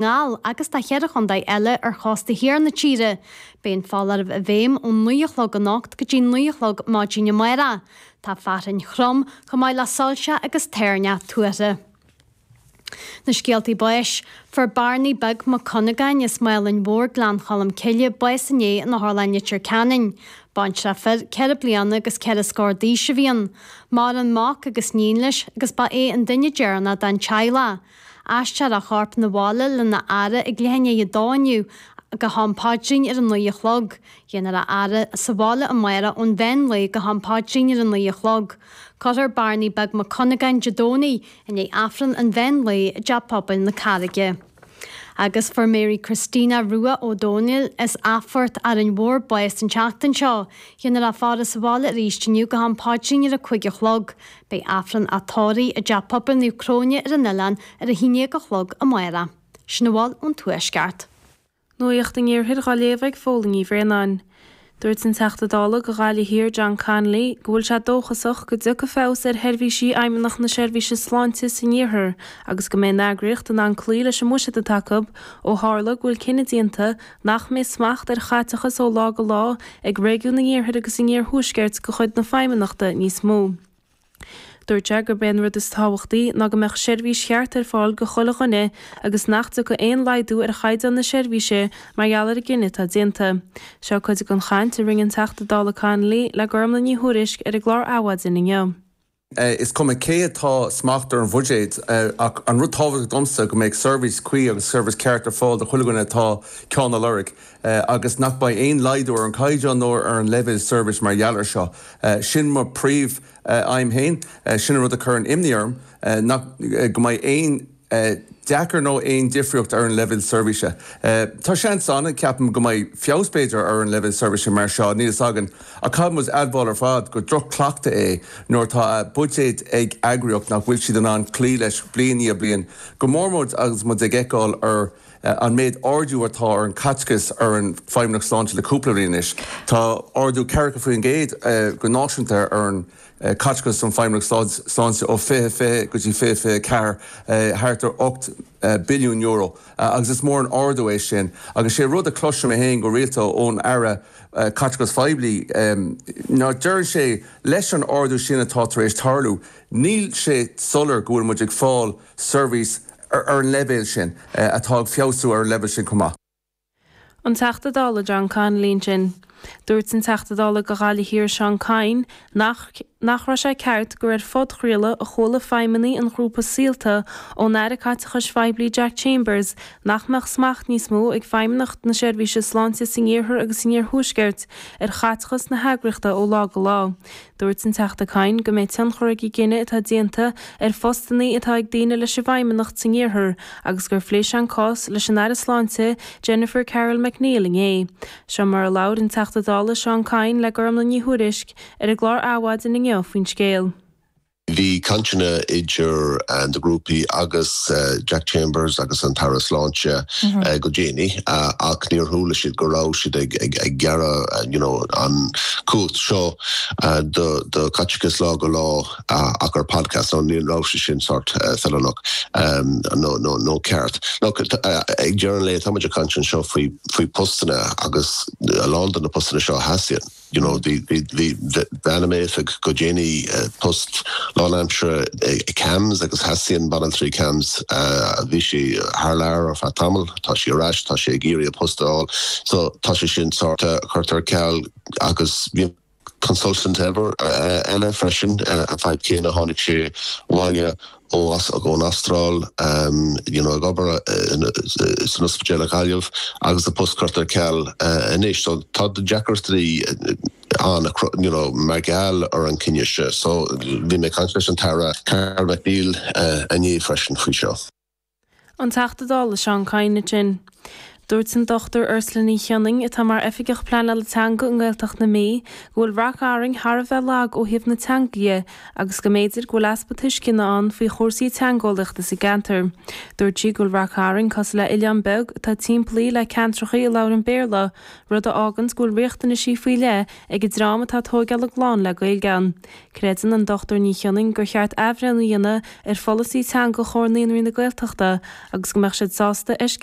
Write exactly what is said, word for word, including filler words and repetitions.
nGall agus do cheithre chontae eile ar chósta thiar na tíre. Beidh an foláireamh i bhfeidhm ón naoi a chlog anocht go dtí naoi a chlog maidin amárach. Tá fearthainn throm chomh maith le soilse agus toirneach tuartha. Na scéaltaí báis, Fuair Bearnaí Beag Mac Cunagáin as Málainn Mhór, Gleann Cholm Cille, bás inné in Otharlann Leitir Ceanainn. Baintreach fir, ceithre bliana agus ceithre scór d'aois a bhí ann. Maireann mac agus níon leis agus ba é an duine deireanach den teaghlach. Aistreofar a chorp 'na bhaile lena fhaire ag leath i ndiaidh a dó inniu go ham paidrín ar a naoi a chlog. Déanfar a fhaire sa bhaile amárach ón mheán lae go ham paidrín ar a naoi a chlog. Cuirfear Bearnaí Beag Mac Cunagáin Dé Domhnaigh i ndiaidh Aifreann an mheán lae i dTeach Pobail na Carraige. Agus fuair Mary Christina Rua Ó Dónaill as Athphort, Árainn Mhór bás an tseachtain seo. Déanfar a faire sa bhaile arís inniu go ham paidrín ar a cúig a chlog. Beidh Aifreann a tórraimh i dTeach Pobail Naomh Cróine ar an oileán ar a haon déag a chlog amárach. Sin a bhfuil ón Tuaisceart. Nuacht an Iarthair á léamh ag Fódhla Ní Bhraonáin. Dúirt an Teachta Dála do Ghaillimh Thiar John Connolly go bhfuil sé dóchasach go dtiocfaidh feabhas ar sheirbhísí Fheidhmeannacht na Seirbhíse Sláinte san iarthar agus go mbeidh an eagraíocht in ann cloí leis an mbuiséad atá acu ó tharla go bhfuil cinneadh déanta nach mbeidh smacht ar chaiteachas ó lá go lá ag réigiún an iarthair agus an iarthuaiscirt de chuid na Feidhmeannachta níos mó. Dúirt sé gurb é an rud is tábhachtaí ná go mbeadh seirbhís cheart ar fáil do chuile dhuine agus nach dtiocfaidh aon laghdú ar chaighdeán na seirbhíse mar gheall ar an gcinneadh atá déanta. Seo cuid den chaint a rinne an Teachta Dála Connolly le Gormlaith Ní Thuairisg ar an gclár Adhmhaidin inniu. Is cuma cé atá smacht ar an bhuiséad ach an rud tábhachtach domsa go mbeidh seirbhís cuí agus seirbhís ceart ar fáil do chuile dhuine atá ceann á lorg agus nach mbeidh aon laghdú ar an caighdeán nó ar an leibhéal seirbhís mar gheall air seo. Sin mo príomh aidhm féin, sin an rud a chuireann imní orm nach go mbeidh aon deacair nó aon difríocht ar an leibhéal seirbhíse. Tá seans ann ceapaim go mbeidh feabhas b'fhéidir ar an leibhéal seirbhíse mar seo níl a fhios againn ach caithfidh muid admháil ar fad gur droch-chleachtadh é nuair atá buiséad ag eagraíocht nach bhfuil siad in ann cloí leis bliain i ndiaidh bliain go mór mór agus muid ag feiceáil ar an méid ardú atá ar an caiteachas ar an Feidhmeannacht Sláinte le cúpla bliain anois. Tá ardú ceathracha faoin gcéad go náisiúnta ar an caiteachas an Feidhmeannacht Sláinte ó fiche fiche go dtí fiche fiche ceathair thart ar ocht billiún euro agus is mór an ardú é sin agus sé rud a chloisim féin go rialta ón Aire caiteachas phoiblí ná deireann sé leis an ardú sin atá tar éis tarlú níl sé soiléir go bhfuil muid ag fáil seirbhís ar an leibhéal sin atá ag feabhsú ar an leibhéal sin chomh maith. An Teachta Dála John Connolly sin. Dúirt an Teachta Dála do Ghaillimh Thiar Seán Kyne nach nach raibh sé ceart gur ar phodchraoladh a chuala feidhmeannaigh an ghrúpa Saolta ón Aire Caiteachais Phoiblí Jack Chambers nach mbeadh smacht níos mó ag Feidhmeannacht na Seirbhíse Sláinte san iarthar agus san iarthuaisceart ar chaiteachas na heagraíochta ó lá go lá. Dúirt an Teachta Kyne go mbeidh tionchar ag an gcinneadh atá déanta ar phostanna atá ag daoine leis an bhFeidhmeannacht san iarthar agus gur phléigh sé an cás leis an Aire Sláinte Jennifer Carroll MacNeill inné. Seo mar a labhair an Teachta Dála Seán Kyne le Gormlaith Ní Thuairisg ar an gclár Adhmhaidin inniu faoin scéal. Bhí cainteanna idir na grúpaí agus Jack Chambers agus an tAire Sláinte go déanaí ach níor chuala siad go raibh siad ag ag gearradh you know, an cumhacht seo do do caiteachas lá go lá ach ar podcast nó ní raibh sé sin sort feiliúnach nó nó nó ceart. Look, ag deireadh an lae táimid ag caint anseo faoi faoi postanna agus a lán de na postanna seo theastaíonn. You know, bhí bhí bean i m'oifig go déanaí post lánaimseartha i CAMHS agus theastaíonn banaltraí CAMHS bhí sí thar lear ar feadh tamaill, tá sí ar ais, tá sí ag iarraidh a post a fháil, so tá sé sin sort curtha ar ceal agus bhí consultant ever eile freisin an fadhb céanna tháinig sé abhaile ó ón Astráil you know, ag obair san ospidéal i Gaillimh agus a post curtha ar ceal anois, so tá deacrachtaí an you know, mar gheall ar an cinneadh seo, so bhí mé ag caint leis an tAire Carroll MacNeill inné freisin faoi seo. An Teachta Dála Seán Kyne sin. Dúirt an Dochtúir Ursula Ní Chionnaith, atá mar Oifigeach Pleanála Teanga i nGaeltacht na Mí, go bhfuil Rath Cairn thar a bheith lag ó thaobh na teanga dhe agus go mb'fhéidir go bhfuil easpa tuisceana ann faoi chúrsaí teangeolaíochta sa gceantar. Dúirt sí go bhfuil Rath Cairn cosúil le oileán beag atá timpeallaithe le ceantracha a labhrann Béarla, rud a fháganns go bhfuil riachtanaisí faoi leith ag an dream atá ag tóigeáil a gclann le Gaeilge ann. Creideann an Dochtúir Ní Chionnaith gur cheart athbhreithniú a dhéanamh ar pholasaí teanga Chomhar Naíonraí na Gaeltachta agus go mbeadh siad sásta eisceacht